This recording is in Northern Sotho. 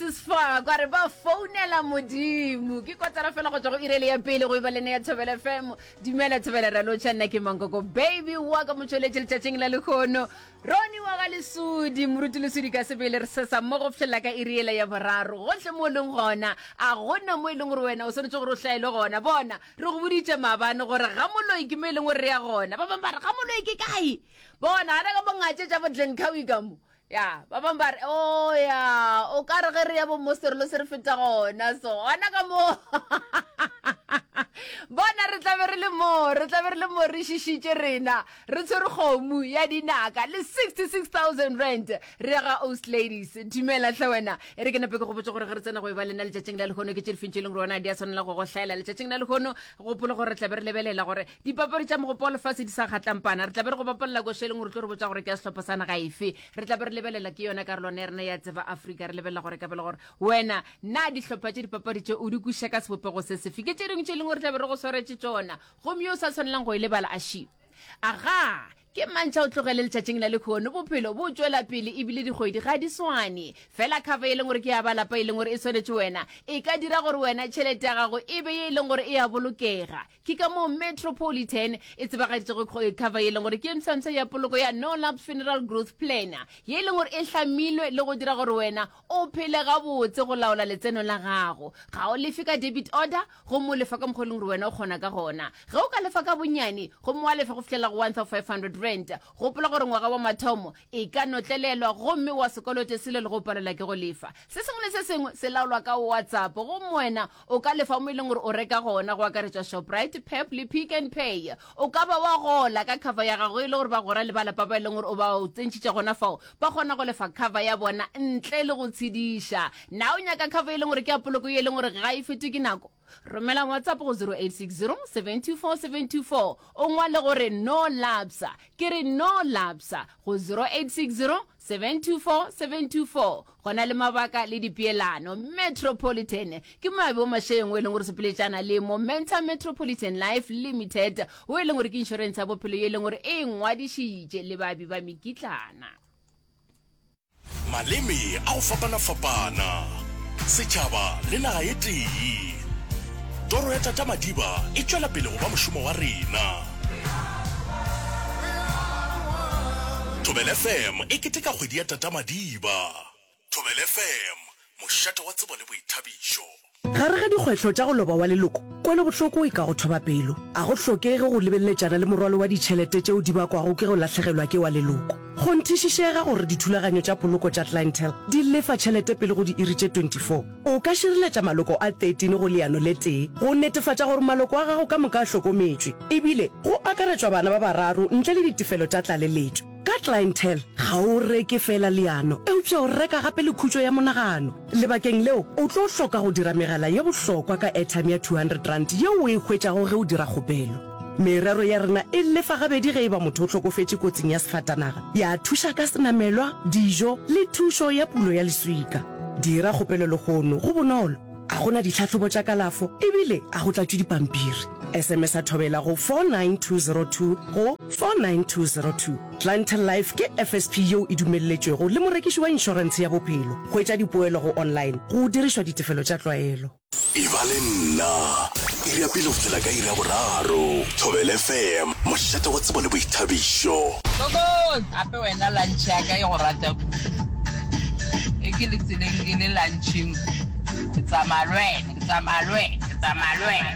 Alexis Fa kwa re ba founela modimo ke kotara fela go tswa go irele ya pele go e ba lene ya Thobela FM dumela Thobela ra lotšha nna ke Mankoko baby wa ka motšweletše letšatšing la lekgono Roni wa ga Lesodi moruti Lesodi ka sebele re sesa mo go fihlela ka iri yela ya boraro gohle mo o leng gona a gona mo e leng gore wena o swanetše gore o hlaelwe gona bona re go boditše maabane gore ga moloi ke mo e leng gore re ya gona ba bangwe ba re ga moloi ke kae bona gana ka bongatše tša bo Glencoe ka mo ya ba bangwe ba re o oh, ya o ka re ge re ya bo moserolo se re feta gona so gona ka mo bona re tlabe re le mo re tlabe re le mo re šišitše rena re tshwere kgomo ya dinaka le 66000 rand re ya ga ost ladies dumela tlhe wena e re ke nape ke go botse gore ge re tsena go e ba lena letšatšing la lehono ke tše difeng tše e leng gore wena di a tshwanela go go hlaela letšatšing la lehono gopola gore re tlabe re lebelela gore Dipapadi tša mogopo wa lefase di sa kgatlampana. Re tla be re go bapalela koša e leng gore tlo re botša gore ke ya sehlopha sa naga efe. Re tla be re lebelela ke yona karolwana ya rena ya Tseba Afrika. Re lebelela gore ka bele gore wena na dihlopha tše dipapadi tše o di kwešiša ka sebopego se sefe. Ke tše dingwe tše e leng gore tla be re go swaretše tšona. Gomme yo o sa tshwanelang go e lebala a šio. Agaa! Ke mantšha o tlogele letšatšing la lekhono. Bophelo bo tšwela pele ebile dikgwedi ga di swane. Fela cover e leng gore ke ya ba lapa e leng gore e swanetše wena e ka dira gore wena tšhelete ya gago e be ye e leng gore e a bolokega. Ke ka moo Metropolitan e tsebagaditšego cover ye e leng gore ke ye mpshampsha ya poloko ya No Lapse Funeral Growth Plan, ye e leng gore e hlamilwe le go dira gore wena o phele gabotse go laola letseno la gago. Ga o lefe ka debit order gomme o lefa ka mokgwa e leng gore wena o kgona ka gona. Ge o ka lefa ka bonnyane gomme wa lefa go fihlela go R1500, gopola gore ngwaga wa mathomo e ka notlelelwa gomme wa se kolote selo le go palelwa ke go lefa. Se sengwe le se sengwe se laolwa ka WhatsApp gomme wena O ka lefa mo e leng gore o reka gona, go akaretšwa Shoprite, Pep le Pick n Pay. O ka ba wa gola ka cover ya gago e le gore bagwera le ba lapa ba e leng gore o ba o tsentšhitše gona fao ba kgona go lefa cover ya bona ntle le go tshediša. Na o nyaka cover e leng gore ke ya poloko ye e leng gore ga e fetwe ke nako? Romela WhatsApp go 0860 724 724 o ngwale gore no lapsa. Ke re no lapsa go 0860 724 724. Go na le mabaka le dipeelano. Metropolitan ke moabi wa mašeleng o e leng gore sepeletšana le Momentum Metropolitan Life Limited o e leng gore ke inšorense ya bophelo ye e leng gore e ngwadišitše le baabi ba mekitlana. Maleme a go fapana-fapana, setšhaba le naga e tee. Toro ya Tata Madiba e tšwela pele go ba mošomo wa rena. Thobela FM e keteka kgwedi ya Tata Madiba. Thobela FM, mošate wa tsebo le boithabišo. Gare ga dikgwetlho tša go loba wa leloko, kwelobohloko e ka go thoba pelo. A go hlokege go lebeleletšana le morwalo wa ditšhelete tšeo di bakwago ke go lahlegelwa ke wa leloko. Kgonthišišega gore dithulaganyo tša poloko tša Clientele di lefa tšhelete pele go diiri tše 24. O ka šireletša maloko a 13 go leano le tee go netefatša gore maloko a gago ka moka a hlokometšwe, ebile go akaretšwa bana ba bararo ntle le ditefelo tša tlaleletšo. Ka Clientele, ga o reke feela leano, eupša o reka gape le khutšo ya monagano. Lebakeng leo, o tlo hloka go dira megala ye bohlokwa ka airtime ya R200 yeo o e hwetšago ge o dira kgopelo. Merero ya rena e lefa gabedi ge e ba motho o hlokofetše kotsing ya sefatanaga, ya thuša ka senamelwa, dijo le thušo ya pulo ya leswika. Dira kgopelo lehono, go bonolo, a go na ditlhahlobo tša kalafo ebile a go tlatšwe dipampiri. SMS-a Thobela go 49202 go 49202. Clientele Life ke FSP yeo e dumelletšwego le morekiši wa inšorentshe ya bophelo. Hwetša dipoelo go online go dirišwa ditefelo tša tlwaelo. Eba le nna iri ya pele go fihlela ka iri ya boraro. Thobela FM, mošate wa tsebo le boithabišo. Gogo, gape wena lunch ya ka e go rata kudu. E ke le tseleng ke le luncheng, ke tsamaya le wena, ke tsamaya le wena, ke tsamaya le wena.